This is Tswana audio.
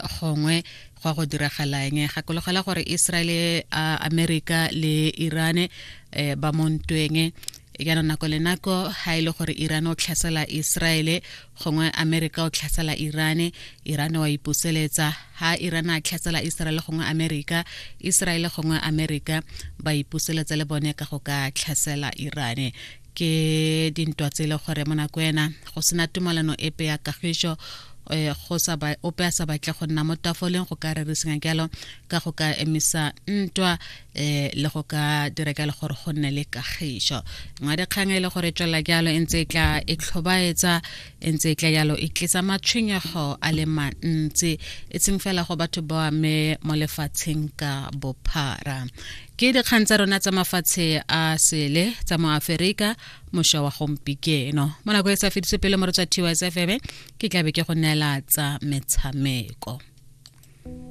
Gongwe go a go diragala eng. Gakologela gore Israel, America le Iran ba mo ntweng jaanong. Nako le nako ha e le gore Iran o tlhasela Israel, gongwe America o tlhasela Iran, Iran wa ipuseletsa. Ha Iran a tlhasela Israel gongwe America, Israel gongwe America ba ipuseletsa le bone ka go ka tlhasela Iran. Ke dintwa tse e le gore mo nako ena go sena tumalano epe ya kagišo, go sa ba ope a sa batle go nna mo tafoleng go ka rerisanya jalo ka go ka emisa ntwa le go ka dira jalo gore go nne le kagišo. Nngwe dikgang e le gore tswelela jalo e ntse e tla e tlhobaetsa, e ntse e tla jalo e tlisa matshwenyego a le mantsi, e seng fela go batho ba mme mo lefatsheng ka bophara. Ke dikgang tsa rona tsa mafatshe a sele tsa mo Aferika mošwa wa gompikeno. Mo nako e sa fedise pele mo re tswa TYS FM, ke tlabe ke go neela tsa metshameko.